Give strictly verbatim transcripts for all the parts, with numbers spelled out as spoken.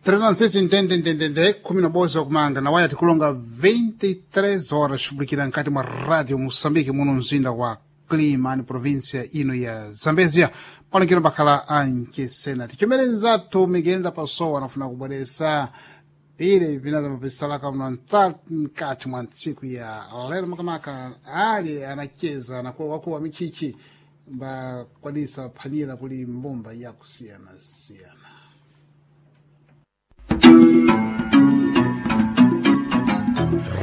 Trenansese ntende ntendende kumi na boza kumanga na waya tikulonga vinte e três horas publikira nkati mwa Radio Moçambique, muno mzinda wa Climane, província ino ya Zambezia. Palengero bakhala ankesena tichomere nzathu Miguel Pasowa anafuna kubweresa pile vinaza mapisalaka mno nkati mwa ntsiku ya lero, makamaka ali anacheza nakuwa wakuwa michichi mbakwanisa phanira kuli mbumba yakusiyana-siyana.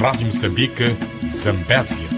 Rádio Moçambique, Zambésia.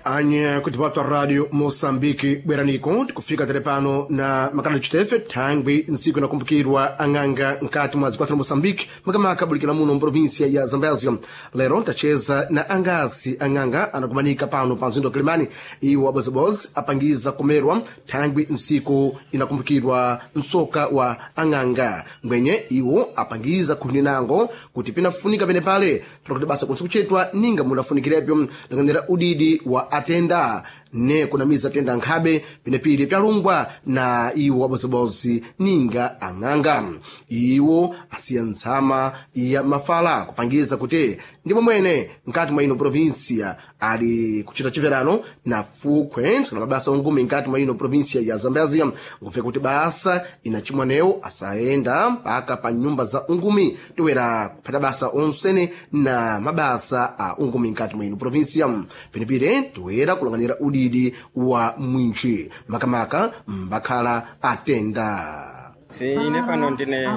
Anye kuti watu wa Radio Moçambique bweraniko tikufika tere pano na makala chitefe thangwi nsiku inakumbukirwa ang'anga nkati mwa zikwathu la Moçambique, makamaka bulikira muno mprovinsia ya Zambésia. Lero ntacheza na angasi ang'anga anakumanika pano pa mzinda wa Kilimani. Iwo abozibozi apangiza kumerwa thangwi nsiku inakumbukirwa msoka wa ang'anga ngwenye iwo apangiza khuninango kuti pinafunika pene pale tulakuti basa kunsi kuchetwa ninga munafunikirepo langanira udidi wa atenda ne kunamiza atenda nkhabe pinepili pyalungwa na iwo abozibozi ninga ang'anga. Iwo asiya ntsama ya mafala kupangiza kuti ndipo mwene nkati mwa ino provinsia ali kuchita chiverano na fukhwe na mabasa ongumi nkati mwa ino provinsia ya Zambezia, ngufe kuti basa inachimwanewo asayenda mpaka pa nyumba za ungumi toera kuphata basa onsene na mabasa a ungumi nkati mwa ino provinsia. Penepire toera kulanganira udidi wa mwinchi, makamaka mbakhala atenda. Si ine pano ndine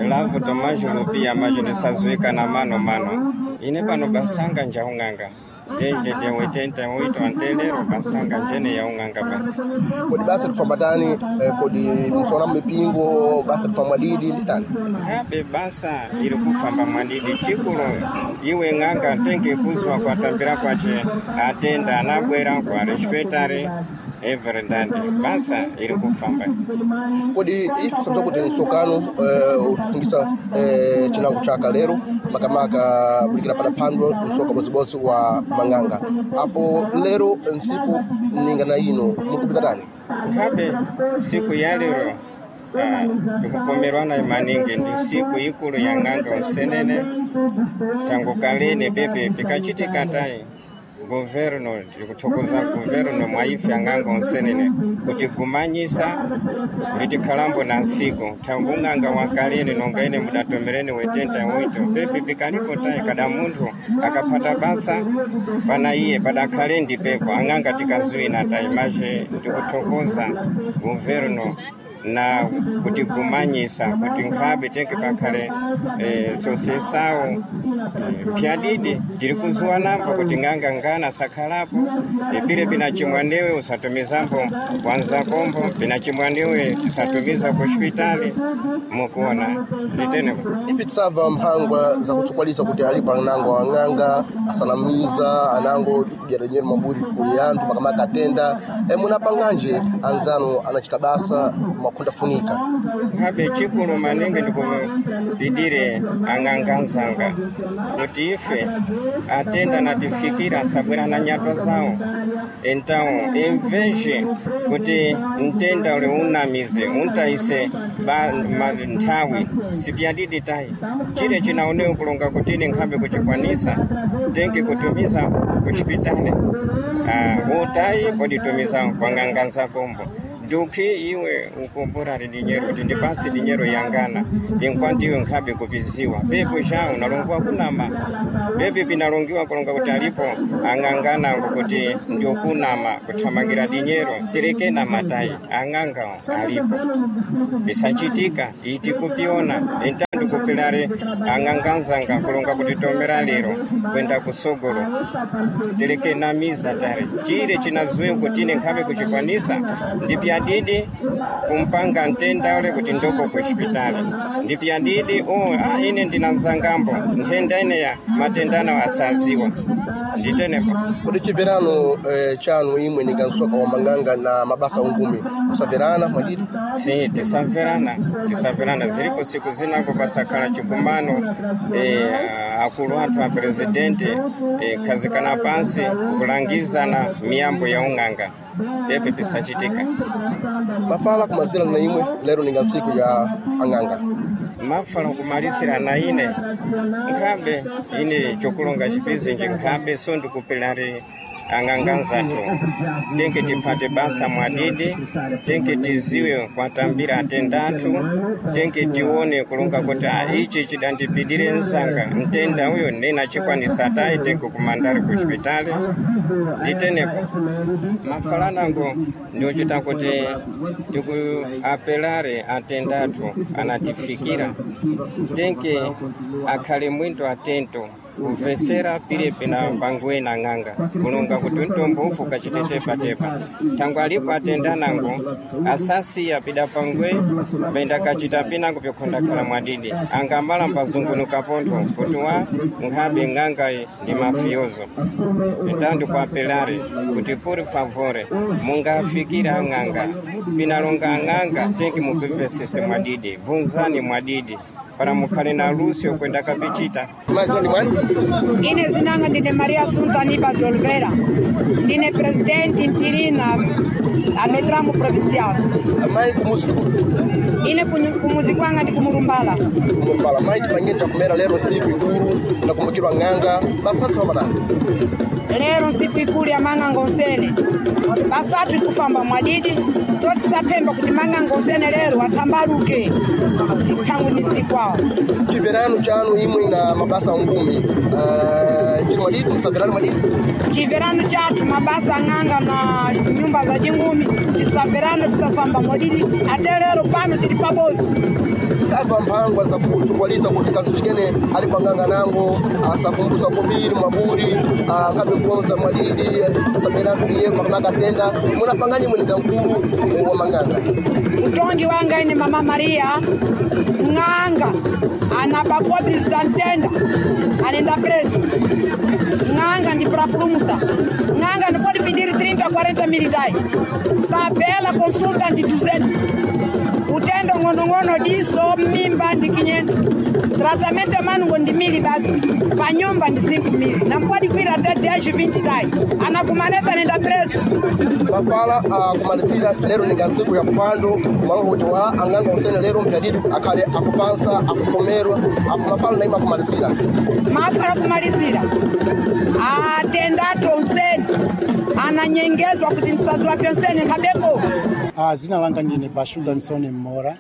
Lavu Tomajo Lupia majo ndisazuika na mano mano. Ine pano basanga njaung'anga desde de oitenta e oito antelero basanga njene yaung'anga basi. Kodi basa tifambatani eh, kodi msona mipingo basa tifa mwadidi nditani? Kabe basa iri kufamba mwadidi. Chikulo iwe ng'anga tenge kuzwa kwatambira kwache atenda anabwera kwa respetare everendandi basa iri kufamba. Kodi ife sabza kuti msokano eh, utifungisa eh, chinango chaka lero, makamaka bulikira pada phandwa msoka bozibozi wa mang'anga apo lero nsiku ninga na ino mukupita tani? Kabe siku ya lero ah, tikukomerwana maningi, ndi siku ikulu ya ng'anga usenene. Tangu kalene bebe pikachitika tai governo, tikuthokoza governo mwaife ang'anga unsenene kuti kumanyisa litikhalambo na nsiku. Tangu ng'anga wa kalene nonga ine mudatomerene wetenta wito pepi pikaliko tai kada munthu akaphata basa pana iye padakhale ndi pepo ang'anga tikazuina tai mache. Ndikuthokoza governo na kutigumanyisa kuti nkhabe tenge pakhale eh, sosesawo eh, pyadidi tiri kuzuwa nambo kuti ng'anga ngana sakhalapo eh, pile pinachimwanewe usatumizambo wanzakombo pinachimwanewe tisatumiza ku hospitali mukuona nditene. Ife tisava mphangwa zakutsokwalisa kuti alipo anango ang'anga asanamiza anango kudyera maburi kuli anthu, makamaka atenda e, munapanganje anzanu anachita basa makhunda funika? Nkhabe chikulu maningi ndikupidire ang'anga nzanga kuti ife atenda natifikira asabwera na nyato zawo. Então emveje kuti mtenda ule unamize untaise ba, ma, nthawi sipyadidi tayi chile chinaonewe kulonga kuti ine nkhabe kuchikwanisa tenge kutumiza ku xipitali. Ah, utayi poditumiza kwa ng'anga nzakombo dukhi iwe ukumbura dinyero kuti ndipasi dinyero yangana inkwati iwe nkhabe kupiziwa pepo sha unalongiwa kunama pepi pinalongiwa kulonga kuti alipo ang'anganango kuti ndiokunama kuthamangira dinyero tereke na matayi ang'anga alipo bisachitika iti kupiona entandu kupilare ang'anganzanga kulonga kuti tomera lero kwenda kusogolo tereke namiza tare chile chinazuwe kuti ine nkhabe kuchikwanisa ndipyadidi kumpanga ntenda ule kuti ndoko ku hospitali ndipyadidi oh, ah, ine ndina nzangambo nthenda ineya matendano asaziwa. Nditenepo. Kodi chimverano eh, chanu imwe ninga msoka wa mang'anga na mabasa ungumi musaverana mwadidi? Si tisamverana, tisamverana. Zilipo siku zinango pasakhala chikumano, eh, akulu athu a presidente eh, khazikana pansi kulangizana miyambo ya ung'anga pepe pisachitika. Mafala kumalizira na imwe lero ninga ntsiku ya ang'anga. Mafala kumalisira na ine nkhabe ine chokulonga chipizinji nkhabe so ndikupilari ang'anga nzathu tenke tiphate basa mwadidi, tenke tiziwe kwatambira atenda athu, tenke tione kulonga kuti ah, ichi chidandipidire msanga mtenda uyo ndinachikwanisa tayi tenke kumandari ku chipitali. Nditenepo mafalanango ndiochita kuti tikuapelare atenda athu anatifikira tenke akhale mwinto atento kumvesera pilipi na pangwe na ng'anga kulonga kuti mtombo ufu kachitetepatepa thangwe alipo atenda nango asasiya pida pangwe penda kachita pinango pikhondakhala mwadidi angamala mbazungunuka pontho kuti wa nkhabe ng'anga ndi mafiozo. Então ndikuapelare kuti por favore mungafikira ang'anga pinalonga ang'anga tenke mupipesese mwadidi vunzani mwadidi para mukhale na luso kwenda kapichita. Maizira ndi mwani? Ine zinanga ndine Maria Assunta Aniba de Oliveira, ndine presidente interina a Metramo Provincial. Mayi kumuzi Ine kunyu- kumuzi kwanga ndi kumurumbala. Kumurumbala. Mayi tipangeni chakumera lero ntsiku ikulu nakumbukirwa ng'anga basatsi pamadani. Lero nsiku ikulu ya mang'anga onsene basatu ikufamba mwadidi totisaphemba kuti mang'anga onsene lero athambaluke thangwi ni siku awo. Chimverano chanu imwe na mabasa ungumi uh, chili mwadidi musaverani mwadidi? Chimverano chathu mabasa ang'anga na nyumba za chingumi tisamverano tisafamba mwadidi ate lero pano tili pabosi. Sava mphangwa zakutukwaliza kuti kazi chikene ali pang'anga nango asakumbusa kubiri mwaburi angabe kuonza mwadidi asaberatu iye makamaka tenda munapangani imwe ninga mkulu wa mang'anga. Utongi wanga ine mama Maria ng'anga anapakobisa ntenda anenda preso ng'anga ndipurapulumusa ng'anga ndipoti pidiri trinta quarenta militai tabela consulta ndi duzentos utendo ng'onong'ono diso mimba ndi kinyendo tratamento ya manungo ndi mili basi panyumba ndi cinco mili nampodi kwira te dez vinte tai anakumanefe anenda preso. Mafala akumalizira lero ninga ntsiku ya kupando malongo kuti wa ang'anga onsene lero mpyadidi akhale akufansa akukomerwa mafala naimwe akumalizira. Mafala kumalizira atendatu onsene ananyengezwa kuti msazi pyonsene nkhabeko. Ah, zina langa ndine Bashu Damsone Mora,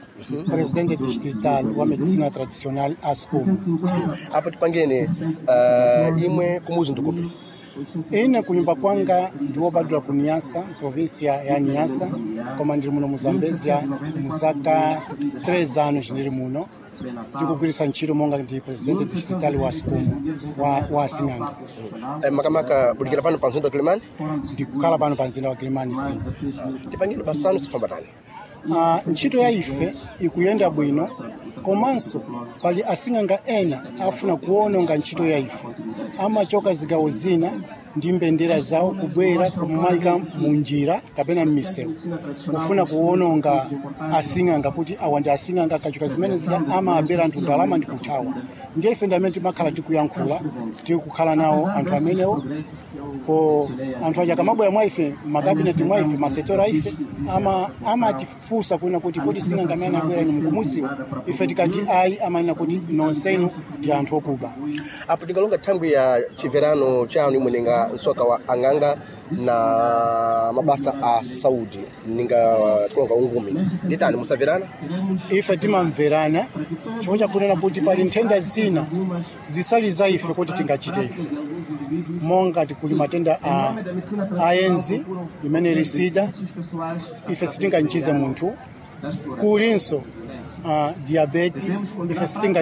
presidente distrital wa medicina tradicional ASCOM. Apo tipangeni uh, imwe kumuzi ndikupi? Ine kunyumba kwanga ndiwobadwa ku Niassa, província ya Niassa, koma ndili muno mu Zambezia muzaka três anos ndili muno ndikugwiritsa ntchito monga ndi presidente distrital wa ASCOM wa, wa asing'anga. Eh, makamaka bulikira pano pa mzinda wa Kilimani? Ndikukhala pano pa mzinda wa Kilimani si. Tipangeni pasanu sifamba tani. Ah, ntchito ya ife ikuyenda bwino komanso pali asing'anga ena afuna kuwononga ntchito ya ife amachoka zigawo zina ndi mbendera zawo kubwera kumayika munjira kapena m'misewu kufuna kuwononga asing'anga kuti awa ndi asing'anga akachoka zimene zija amaabera anthu ndalama ndi kuthawa. Ndiye ife ndi amene timakhala tikuyankhula tikukhala nawo anthu amenewo ko anthu aja akamabwera mwa ife makabineti mwa ife masetora ife ama amatifunsa kuna kuti kodi sing'anga amene abwera inu mukumuziwa ife tikati ayi amanena kuti nonsenu ndi anthu okuba. Apo tingalonga thangwi ya chimverano chanu imwe ninga msoka wa ang'anga na mabasa a saudi ninga tikulonga ungumi nditani musaverana? Ife timamverana chifukwa chakunena kuti pali nthenda zina zisali za ife kuti tingachite ife monga tikuli matenda a ayenzi imene ili sida ife sitinganchize munthu kulinso uh, diabeti ife sitinga